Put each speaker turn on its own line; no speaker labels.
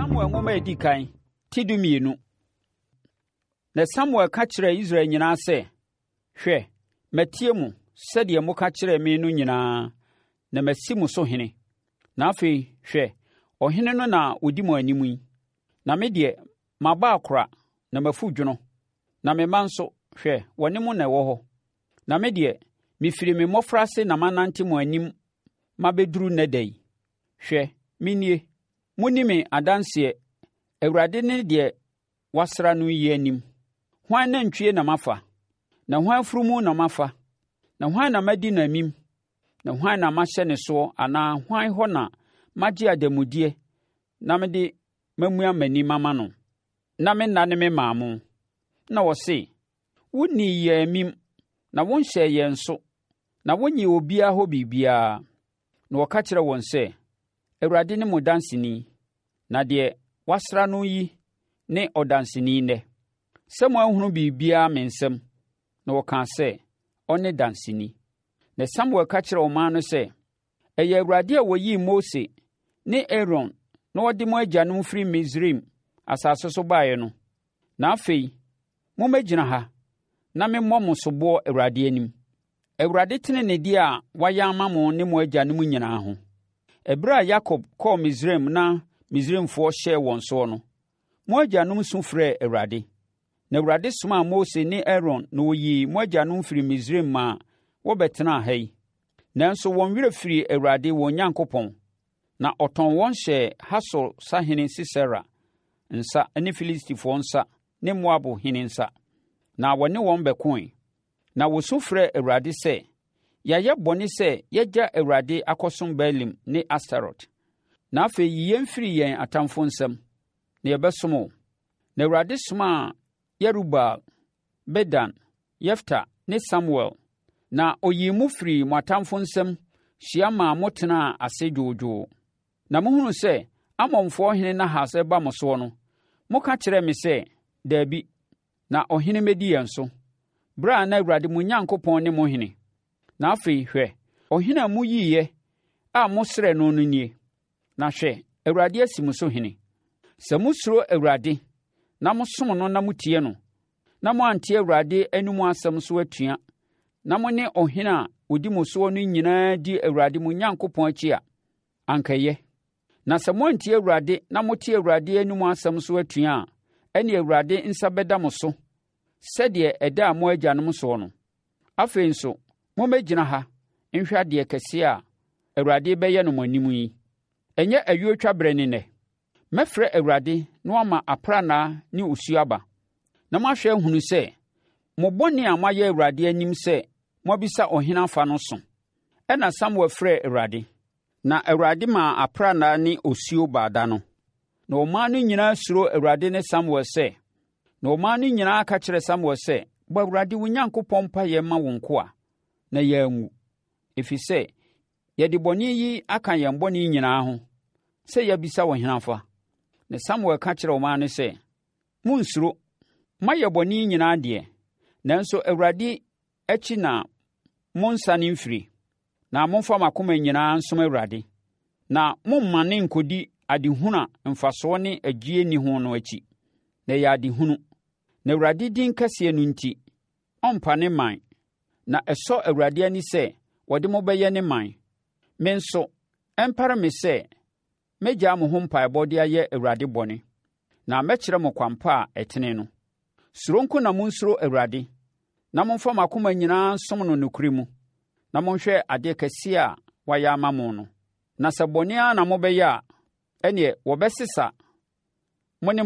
Samuel nwoma a edi kan, ti 12. Na Samuel ka kyerɛɛ Israel nyinaa sɛ, Hwɛ, matie mo sɛdeɛ moka kyerɛɛ me no nyinaa, na masi mo so hene. Na afei, hwɛ, ɔhene no na ɔdi mo anim yi. Na me deɛ, mabɔ akora na mafu dwono, na me mma nso, hwɛ, wɔne mo na ɛwɔ hɔ. Na me deɛ, mefiri me mmɔfraase na manante mo anim mabɛduru nnɛ da yi. Hwɛ, menie, monni me adanseɛ, Awurade ne deɛ wasra no yi anim. Hwan nantwie na mafa? Na hwan afunumu na mafa? Na hwan na madi no amim? Na hwan na mahyɛ ne soɔ anaa hwan hɔ na magye adanmudeɛ na mede mamua m'ani mama no, na mennane memmaa mo? Na wɔse, Wonnii yɛn amim, na wonhyɛɛ yɛn so, na wonnyee obiara hɔ biribiara. Na wɔka kyerɛɛ wɔn sɛ, Awurade ne mo danseni, na deɛ wasra no yi ne ɔdanseni nnɛ, sɛ moanhunu biribiara me nsam. Na wɔkaa sɛ, Ɔne danseni. Na Samuel ka kyerɛɛ ɔman no sɛ, Ɛyɛ Awurade a ɔyii Mose ne Aaron na ɔde mo agyanom firi Misraim asase so baeɛ no. Na afei, mommɛgyina ha na memmɔ mo soboɔ Awurade anim. Awurade teneneedeɛ a wayɛ ama mo ne mo agyanom nyinaa ho. Ɛberɛ a Yakob kɔɔ Misraim na Misraimfoɔ hyɛɛ wɔn soɔ no, mo agyanom su frɛɛ Awurade. Na Awurade somaa Mose ne Aaron na wɔyii mo agyanom firii Misraim maa wɔbɛtenaa ha yi. Nanso wɔn werɛ firii Awurade wɔn Nyankopɔn, na ɔtɔn wɔn hyɛɛ Hasor sahene Sisera nsa ne Filistifoɔ nsa ne Moab hene nsa, na wɔne wɔn bɛkoe. Na wɔsu frɛɛ Awurade sɛ, Yɛayɛ bɔne sɛ yɛagya Awurade akɔsom Baalim ne Astarot. Na afei yi yɛn firi yɛn atamfoɔ nsam, na yɛbɛsom wo. Na Awurade somaa Yerubaal, Bedan, Yefta ne Samuel, na ɔyii mo firii mo atamfoɔ nsam hyia maa motenaa ase dwoodwoo. Na mohunuu sɛ Amonfoɔ hene Nahas reba mo soɔ no, moka kyerɛɛ me sɛ, Dabi, na ɔhene mmɛdi yɛn so, berɛ a na Awurade mo Nyankopɔn ne mo hene. Na afei, hwɛ, ɔhene a moyiiɛ a mosrɛɛ no no nie. Na hwɛ, Awurade asi mo so hene. Sɛ mosuro Awurade, na mosom no na motie no, na moante Awurade anomu asɛm so atua, na mo ne ɔhene a ɔdi mo soɔ no nyinaa di Awurade mo Nyankopɔn akyi a, anka ɛyɛ. Na sɛ moantie Awurade na mote Awurade anomu asɛm so atua a, ɛnneɛ Awurade nsa bɛda mo so sɛdeɛ ɛdaa mo agyanom soɔ no. Afei nso, mommɛgyina ha nhwɛ adeɛ kɛseɛ a Awurade rebɛyɛ no mo anim yi. Ɛnyɛ ayuotwa berɛ ne nnɛ? Mɛfrɛ Awurade na wama aprannaa ne osuo aba, na moahwɛ ahunu sɛ mo bɔne a moayɛ Awurade anim sɛ moabisa ɔhene afa no so. Ɛnna Samuel frɛɛ Awurade, na Awurade maa aprannaa ne osuo baa da no. Na ɔman no nyinaa suroo Awurade ne Samuel sɛ, Na ɔman no nyinaa ka kyerɛɛ Samuel sɛ, Bɔ Awurade wo Nyankopɔn mpaeɛ ma wo nkoa, na yɛanwu, ɛfiri sɛ, yɛde bɔne yi aka yɛn bɔne nyinaa ho, sɛ yɛabisa ɔhene afa. Na Samuel ka kyerɛɛ ɔman no sɛ, Monnsuro! Moayɛ bɔne yi nyinaa deɛ, nanso Awurade akyi na monnsane mfiri, na momfa mo akoma nyinaa nsom Awurade, na mommmane nkɔdi adehunu a mfasoɔ ne ɛgyeɛ nni ho no akyi, na ɛyɛ adehunu. Na Awurade din kɛseɛ no nti, ɔrempa ne man, na ɛsɔ Awurade ani sɛ ɔde mo bɛyɛ ne man. Me nso, ɛmpare me sɛ mɛgyaa mo ho mpaebɔ de ayɛ Awurade bɔne, na mɛkyerɛ mo kwan pa a ɛtene no. Suro nko na monsuro Awurade, na momfa mo akoma nyinaa nsom no nokorɛ mu, na monhwɛ adeɛ kɛseɛ a wayɛ ama mo no. Na sɛ bɔne ara na mobɛyɛ a, ɛnneɛ wɔbɛsesa mo ne